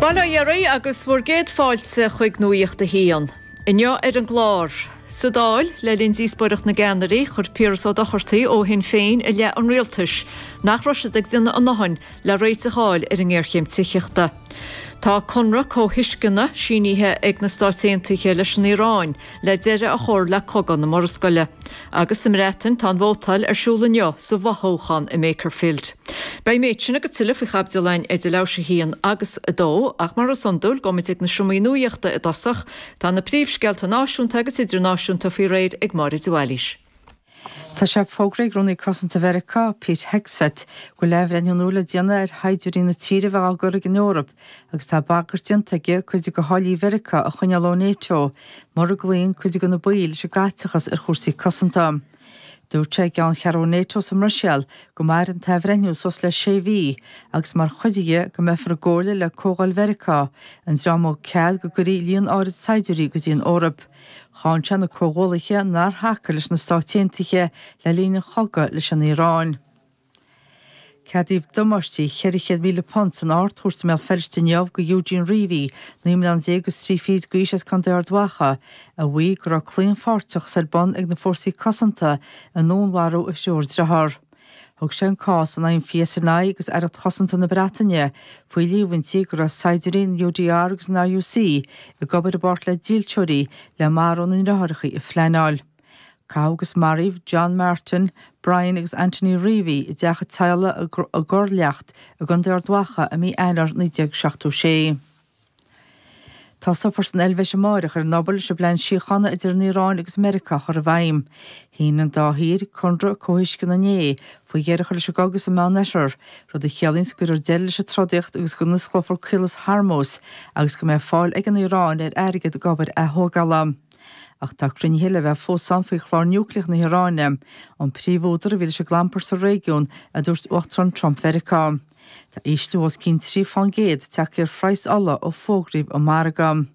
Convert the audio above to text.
Bail ó Dhia oraibh agus bhur gcéad fáilte chuig Nuacht a hAon. Inniu ar an gclár. Sa Dáil, le linn díospóireacht na gceannairí, chuir Piaras Ó Dochartaigh ó Shinn Féin i leith an rialtais nach raibh siad ag déanamh a ndóthain le réiteach a fháil ar an ngéarchéim tithíochta. Tá conradh comhthuisceana sínithe ag na Stáit Aontaithe leis an Iaráin le deireadh a chur le cogadh na Murascaille. Agus sa mBreatain tá an vótáil ar siúl inniu sa bhfothoghchán i mBakerfield. Beidh an méid sin agus tuilleadh faoi chaibidil againn idir leathuair tar éis 1 agus 2, ach mar is iondúil gabhfaimid ag na seomraí nuachta i dtosach. Tá na príomhscéalta náisiúnta agus idirnáisiúnta faoi réir ag Máire de Bhailís. Tá sé fógraithe ag Rúnaí Cosanta Mheiriceá, Pete Hegseth, go bhfuil athbhreithniú nua le déanamh ar shaighdiúirí na tíre a bheith á gcur ag an Eoraip agus tá bagairt déanta aige cuid de tháillí Mheiriceá a choinneáil ó NATO mura gcloíonn cuid de na baill leis an gcaiteachas ar chúrsaí cosanta. Dúirt sé i gceanncheathrú NATO sa mBruiséil go mairfidh an t-athbhreithniú suas le sé mhí agus mar chuid dhe go mbeifear i gcomhairle le Comhdháil Mheiriceá, an dream a thug cead go gcuirfí líon áirid saighdiúirí go dtí an Eoraip. Cháin sé na comhghuallaithe nár thacaigh leis na Stáit Aontaithe le linn an chogaidh leis an Iaráin. Ceadaíodh damáistí £400,000 san Ard-Chúirt i mBéal Feirste inniu do Eugene Reavey, 19 mbliana agus 3 fichid d'aois as Contae Ard Mhacha, a mhaígh go raibh claonpháirteachas ar bun ag na Fórsaí Cosanta i ndúnmharú a thriúr driotháir. Thug sé an cás in aghaidh an PSNI agus Aireacht Chosanta na Breataine faoi líomhaintí go raibh saighdiúirí an UDR agus an RUC ag obair i bpáirt le dílseoirí le marú na ndriotháireacha a phleanáil. Caitheadh agus maraíodh John Martin, Brian agus Anthony Reavey i dteach an teaghlaigh i gCorr Leacht i gContae Ard Mhacha i mí Eanáir 1976. Tosófar san Eilvéis amáireach ar an obair leis an bplean síochána idir an Iaráin agus Meiriceá a chur i bhfeidhm. Shínigh an dá thír conradh comhthuisceana inné faoi dheireadh a chur leis an gcogadh sa Meánoirthear, rud a chiallaíonns go gcuirfear deireadh leis an trodaíocht agus go n-osclófar Caolas Hormuz agus go mbeidh fáil ag an Iaráin ar airgead d'obair athógála. Ach tá cruinnithe le bheith fós ann faoi chlár núicléach na hIaráine, an príomhúdar a bhí leis an gclampar sa réigiún, a dúirt Uachtarán Trump Mheiriceá. Tá ísliú os cionn 3 fán gcéad tagtha ar phraghas ola ó fógraíodh an margadh.